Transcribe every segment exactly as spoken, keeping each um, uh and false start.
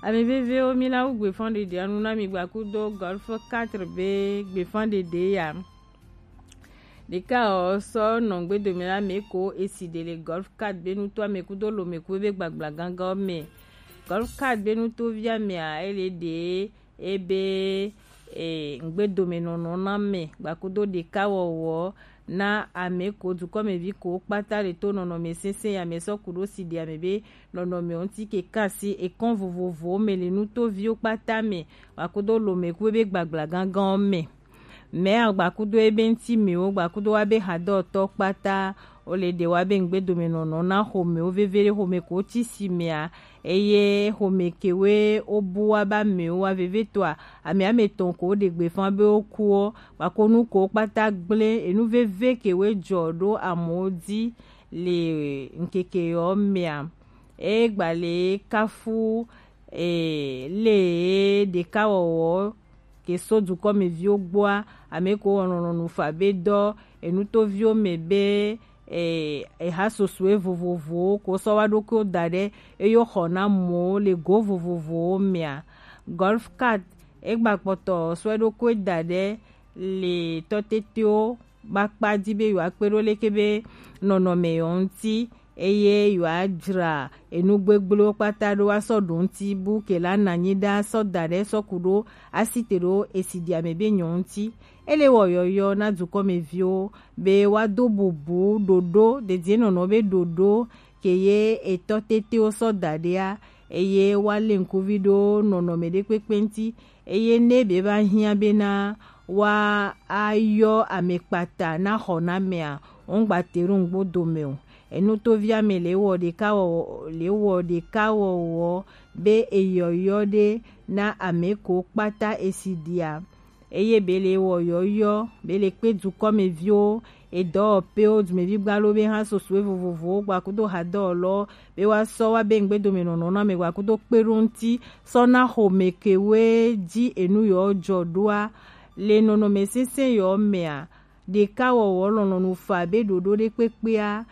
Ame vevewo, mi na wu gbefan ɖeɖe anu na mi gbakudo Golf quatre be gbefan ɖeɖe ya. Ɖeka ɔ sɔ nɔ ŋgbedo mi la me ko esi ɖe le Golf quatre be nuto ame kudo lome ku be gbagbla gangan me. Golf quatre be nuto via me a ele ɖe ebe e ŋgbedomenɔnɔ na mɛ gbakudo ɖekawɔwɔ na ame ko dukɔmevi ko kpata le to nɔnɔme sɛnsɛn ya me sɔ ku ɖo si ɖe ame be nɔnɔme ŋuti ke kasi ekɔn vovovowo me le nutoviwo kpata me gbakudo lome ku be gbagbla gangan me. Mɛ gbakudo ebe ŋuti mewo gbakudo wa be hadɔtɔ kpata o le ɖe wa be ŋgbedomenɔnɔ na xɔmewo veve ɖe xɔme ko ti si mea eye xɔme kewe wo bu wa ba mewo wa veve toa ame ame tɔn ko ɖe gbefa be wo kuɔ gbakonu ko kpata gblẽ enu veve kewe jɔ ɖo amewo di le ŋkeke yɔ mea e gba le kafu e le ɖekawɔwɔ ke so dukɔmeviwo gbɔa ame ko wɔnɔnɔ nufa be dɔ enutoviwo me be e eha sosoe vovovowo ko sɔ wa ɖokuiwo da ɖe eyo xɔ na mɔwo le go vovovowo mea. Golf card egba kpɔtɔ sɔ eɖokui da ɖe le tɔtetewo kpakpa di be yewoakpe ɖo leke be nɔnɔme yewo ŋuti eye yewoadzra enu gbegblẽwo kpata ɖo woasɔ ɖo ŋuti bu ke la na anyi ɖa sɔ da ɖe sɔ ku ɖo asi te ɖo esi ɖi ame be nyɔ ŋuti. Ele wɔ yɔyɔ na dukɔmeviwo be woado bubu ɖoɖo dedienɔnɔ be ɖoɖo ke ye etɔ tetewo sɔ da ɖea eye woalé ŋkuvi ɖo nɔnɔme ɖekpekpe ŋuti eye ne be va hiã bena woayɔ amekpata na xɔnamea, wongba te ɖo ŋgbo dome o. Enutoviame le wɔ ɖeka wɔ le wɔ ɖeka wɔwɔ be eyɔyɔ ɖe na ame ko kpata esi ɖia. Eye be le wɔ yɔyɔ be le kpe dukɔmeviwo edɔwɔƒewo dumevi gbalo be hã sosoe vovovowo gbakudo hadɔwɔlɔ be woasɔ wa be ŋgbedomenɔnɔ na ame gbakudo kpe ɖo ŋuti sɔ na xɔme kewoe dzi enu yewo jɔ ɖoa le nɔnɔme sɛnsɛn yewo mea ɖekawɔwɔ lɔlɔ̃nu fa be ɖoɖo ɖekpekpea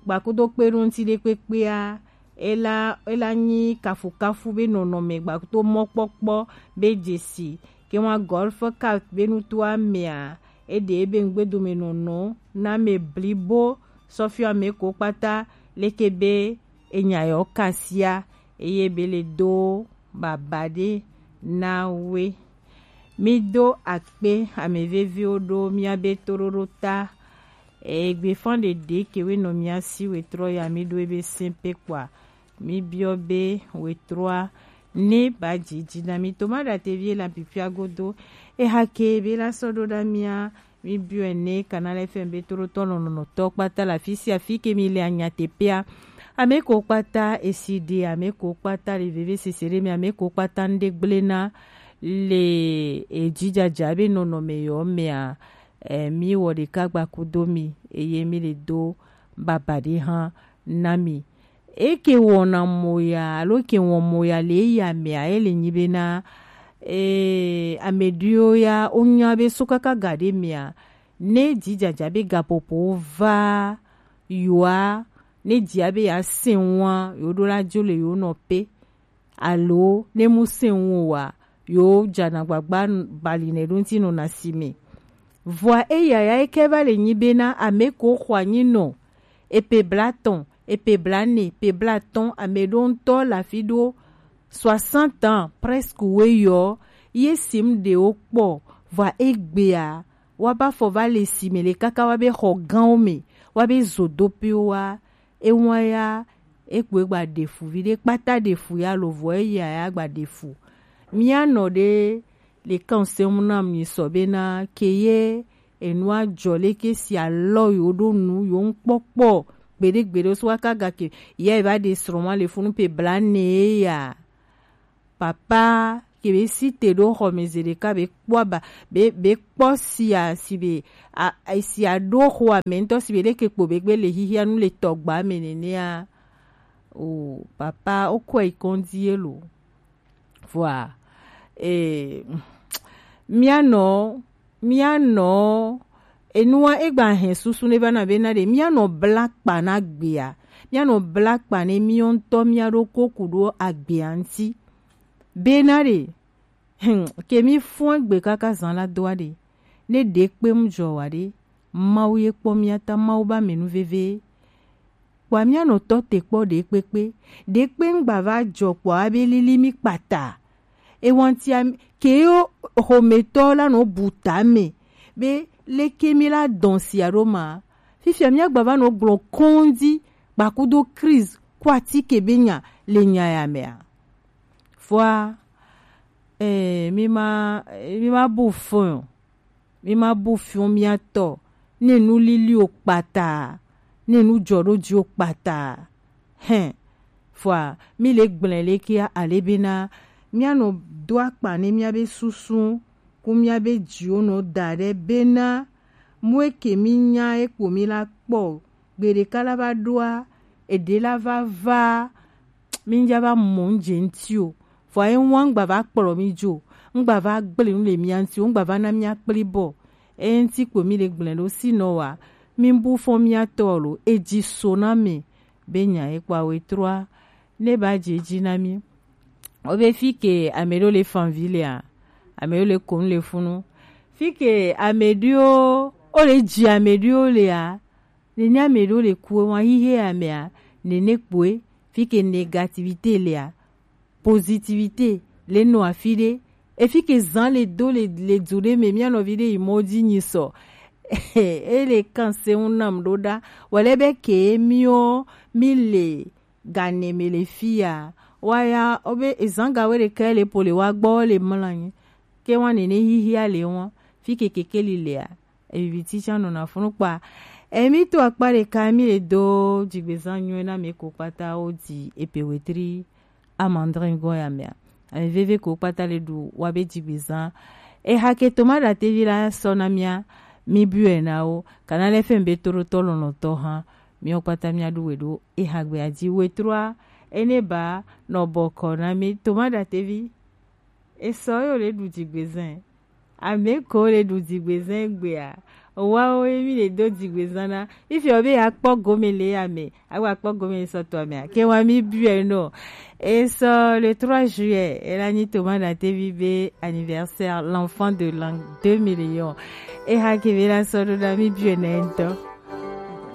gbakudo kpe ɖo ŋuti ɖekpekpea ela ela nyi kafukafu be nɔnɔme gbakudo mɔkpɔkpɔ be dzesi ke wa golf card be nutoa mea eɖe ebe ŋgbedomenɔnɔ na me blibo sɔfiɔ ame ko kpata leke be enya yɔ kasia eye be le do baba ɖe na we. Mi do akpe ame veviwo ɖo miabe toɖoɖo ta. Egbe fɔn ɖeɖe kewe nɔ mia si wetrɔ ya mi ɖo ebe sɛnpe kpoa mi biɔ be wetrɔa ne ba dzidzi na mi to ma ɖa te vie la pipia godo. Eha ke be la sɔ ɖo ɖa mia mi biɔe ne Canal F M be toɖotɔ lɔlɔ̃tɔ kpata le afi sia afi ke mi le anyateƒea. Ame ko kpata esi ɖe, ame ko kpata le vevesese ɖe me, ame ko kpata ŋɖe gblẽ na le edzidzadza be nɔnɔme yewo mea, eh, mi wɔ ɖeka gbakudo mi eye mi le do baba ɖe hã na mi. Eke wɔna moya alo ke wɔ moya le eya mea ele nyi bena eh, ame ɖewo ya wonya be so kaka ga ɖe mea ne dzidzadza be gaƒoƒo va yoa ne dzia be yeasẽ ŋua yewoɖo la dzo le yewo nɔƒe alo ne mu sẽ ŋu oa yewo dzana gbagba bali nɛ ɖo ŋuti nɔna si me. Vɔa eya ya eke va le nyi bena ame ko xɔ anyi nɔ epe blatɔn, epe blane, epe blatɔn, ame ɖo ŋutɔ le afi ɖo soixante ans presque weyɔ ye sim ɖewo kpɔ vɔa egbea wa ba fɔ va le si me le kaka wa be xɔ gãwo me wa be zodoƒewo wa ewa ya ekpoe gba ɖe fu vi ɖe kpata ɖe fu ya lo vɔ eya ya gba ɖe fu. Mía nɔ ɖe le kan sɛmu na mi sɔ bena ke ye enua jɔ leke si alɔ yo ɖo nu yo ŋkpɔkpɔ gbeɖe gbeɖe so waka gake ya eva ɖe srɔ̃ ma le funu pe bla ne ya. Papa ke be si te ɖo xɔ me ze ɖeka be kpɔ aba be be kpɔ sia si be a a- si aɖo xɔ ame ŋutɔ si be leke kpo be gbe le xixia nu le tɔgba me nenea. O papa wokɔe yi kɔndzi ye lo. Vɔa eh, míanɔ míanɔ enua egba hɛn susu ne va na be na ɖe míanɔ bla kpa na gbea míanɔ bla kpa ne míɔ ŋutɔ míaɖo koku ɖo agbea ŋuti. Bena ɖe, hmm, ke mi fɔn egbe kaka zan la do aɖe. Ne ɖe kpe mu jɔ wa ɖe, Mawu ye kpɔ mia ta, Mawu ba menu veve. Kpɔa mia nɔ tɔ te kpɔ ɖe kpekpe. Ɖe kpe ŋgba va jɔ kpɔa be lili mi kpata. Ewantia ke yo xometɔ la nɔ bu ta me be leke mi la dɔn sia ɖo ma. Fifia mia gba va nɔ gblɔ kɔndi kpakudo crise kɔ atike be nya le nya ya mea. Fɔa, eh, mi ma, mi ma bu fɔn o. Mi ma bu fɔn mia tɔ. Ne nu lili o kpata, ne nu jɔ ɖo ji o kpata. Hɛn, fɔa, mi le gblẽ le kia ale bena, mia nɔ do akpa ne mia be susu, ku mia be jiwo nɔ da ɖe bena, mu eke mi nya ekpo mi la kpɔ, gbe ɖeka la va ɖoa, eɖe la va va, mi ŋdza va mɔ ŋdze ŋti o. Vɔa ye ŋua ŋgba va kplɔ mi dzo, ŋgba va gblẽ nu le mia ŋti o, ŋgba va na mia kpli bɔ. Eye ŋti kpo mi le gblẽ ɖo si nɔ wa, mi bu fɔ mia tɔ lo, eji so na mi, be nya ye kpɔ awe trɔa, ne ba dze dzi na mi. O be fi ke ame ɖewo le fanvi lea, ame ɖewo le konu le funu. Fi ke ame ɖewo, o le dzi ame ɖewo lea, nene ame ɖewo le ku wa hihe amea, nene kpoe, fi ke négativité lea, positivité le nɔ afi ɖe. Efi ke zan le do le, le du ɖe me, mia nɔvi ɖe yi mɔ dzi nyi sɔ. E le kan se ŋu nam ɖo ɖa. Wale be ke miɔ, mi le gane me le fi ya. Wa ya, o be ezan ga we ɖeka le po le wa gbɔ le mla nyi. Ke wa nene hihia le wa. Fi ke kekeli lea. Evivi ti tsa nɔna funu kpa. Emi to akpa ɖeka mi le do dzigbezan nyuie na mi ko kpata o di epe wetri amandrin go ya mea. Ame veve ko kpata le ɖu wa be dzigbezan. Eha ke toma ɖa tevi la sɔ na mia, mi bue na wo. Kana le fɛn be to ɖo tɔ lɔnɔ tɔ hã. Miɔ kpata mia ɖu we ɖo eha gbe adzi we trɔa. Ene ba nɔ bɔkɔ na mi toma ɖa tevi. Esɔ yo le ɖu dzigbezan. Ame ko le ɖu dzigbezan gbea. Wawo ye mi le do dzigbezan na. Ifi o be ya kpɔ gome le ya me. Agba kpɔ gome sɔ to amea. Ke wa mi bue no. Esɔ le trois juillet. Ela nyi toma ɖa tevi be anniversaire l'enfant de l'an deux millions. Eha ke be la sɔ ɖo na mi bue na ŋtɔ.